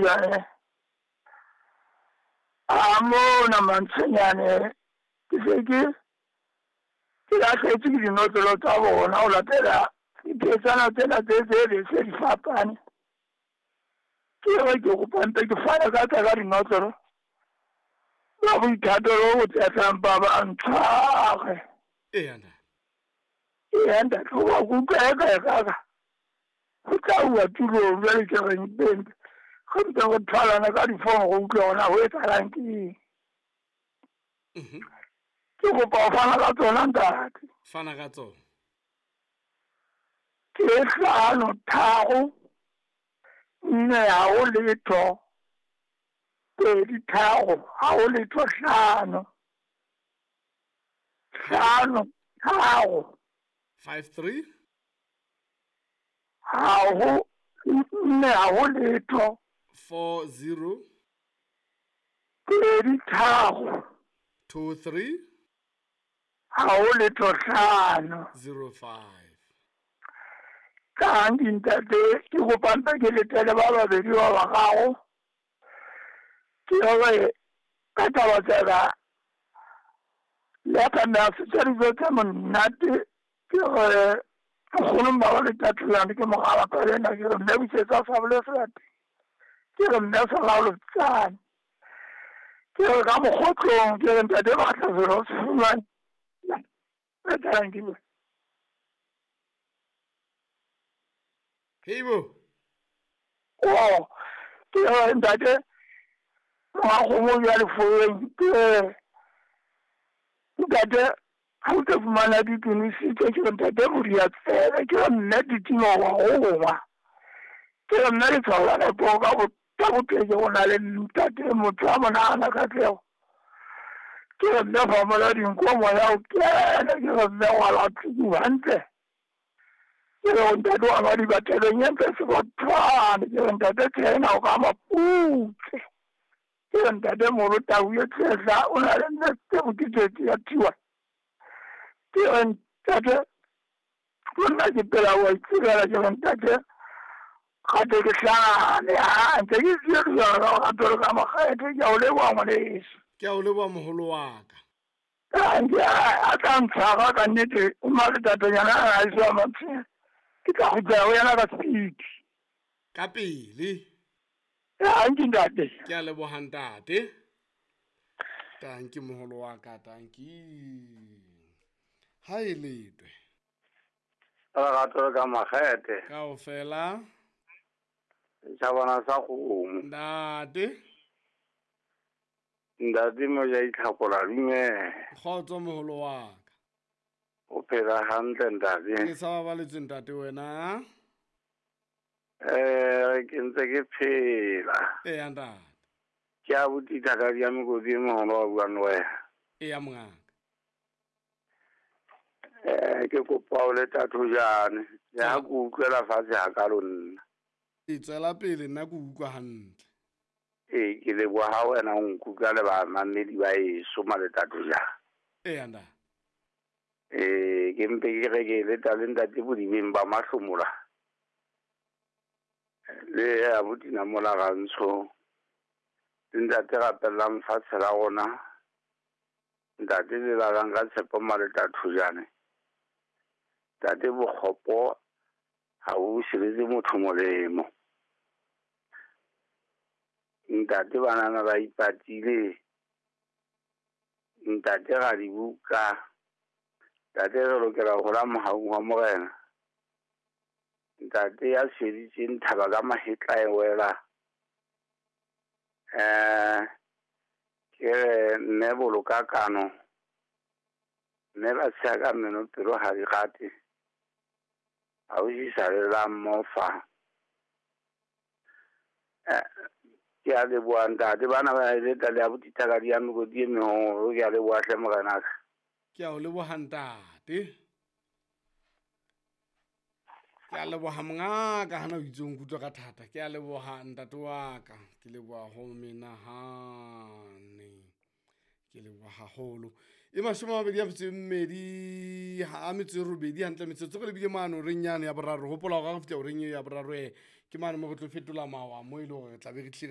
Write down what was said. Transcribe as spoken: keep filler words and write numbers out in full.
Jane a mona Mantshenyane ke se ke ke lahletswe ke dinotlolo tsa bona ho latela diphetsana tsena tse tse be se di fapane. Ke re ke kopa mpe ke fane ka tsa ka dinotlolo ba boithatelo bo tsetlang ba ba ntshware. Eya ntate. Eya ntate, hoba ke utlwa eka ekaka ho tla uwa tulong jwale ke reng beng re mpe re tholana ka difono re utlwe hore na ho etsahalang ke eng. Mhm. Ke kopa ho fana ka tsona ntate. Fana ka tsona. Ke hlano tharo nne ha ho letho pedi tharo ha ho letho hlano hlano tharo Five three. ha ho nne ha ho letho Four zero. pedi tharo Two three. ha ho letho hlano. Zero five. Ka ntate ke kopa mpe ke letele ba babedi ba bararo ke hore ka taba tsena le ka nna se dijo tse monate ke re nkgono mma le tatelane ke mogala ka lena ke re mme busetsa sabole selate ke re mme selaolotsane ke re ka mokgotlong ke re ntate batla selo se fumane etsalang ke bue. Heibo. Oh, ke re ntate moagomo jwa lefoeng ke re ntate ha o tlo fumana ditunisitse ke re ntate modia tsebe ke re mme ditimo wa gongwa ke re mme letshwao la nepo ka ka boteke go na le ntate motho a monagana katlego ke re mme famola dinko moya o kene ke re mme wa latsuku hantle ke re ntate wa madiba thabeng e ntle sebathwane ke re ntate tsena o ka maputse ke re ntate molo tau e tshehla o na le nne tse boketsetse ya thiwa ke re ntate monna ke pela wa itsebela ke re ntate gate ke hlane a ntse ke tsiediwa ka gato le ka makgethe ke a o leboha ngwaneso. Ke a o leboha moholo wa ka. Nke a tla ntshwara ka nnete o maletatonyana a iso a Mantshenyane ke tla kgutlela ho yena ka speed. Ka pele. Tanki ntate. Ke a leboha ntate. Tanki moholo wa ka, tanki. Ha e letwe. Lerato le ka makgethe. Kaofela. Setjhabana sa kgomo. Ntate. Ntate moja itlhakola dumela. Kgotso moholo wa ka. O phela hantle ntate. Ke sa babaletswe ntate wena. Eh ke ntse ke phela. Eya ntate. Ke a botita ka di mekoti e moholo wa buang le wena. Eya mongaka. Eh ke kopa o le Thathojane. Le ha ke utlwela fatshe hakalo nna. E tswela pele nna ke utlwa hantle. Ee ke leboha ha wena o nkutlwa le bamamedi ba eso male Thathojane. Eya ntate. Eh ke mpe ke re ke leta le ntate bodibeng ba mahlomola. Le abuti Namola Rantsho. Le ntate rapellang fatshe la rona. Ntate le lalang ka tshepo male Thathojane. Ntate bokgopo ha o siretse motho molemo. Ntate banana ba ipatile. Ntate ra dibuka. Ntate re lokela ho hola mohaung wa Morena. Ntate ya tshweditseng thaba ka mahetla e wela. Eh ke re mme boloka kano. Mme ba tsheha ka meno pelo ha di rate. Ha o sisa le la mofa. Eh ke a leboha ntate bana ba leta le abuti thaka di ya mekoti e meholo ke a leboha hle morenaka. Ke a o leboha ntate. Ke a leboha mongaka hana o itse o nkutlwa ka thata. Ke a leboha ntate wa ka. Ke leboha ho menahane. Ke leboha haholo. E mashome a mabedi a metso e mmedi ha a metso e robedi hantle metsotso re lebile mane horeng yane ya boraro. Hopola hore ha re fihla horeng eo ya boraro e ke mane mo re tlo fetola mawa mo e le hore re tla be re tlile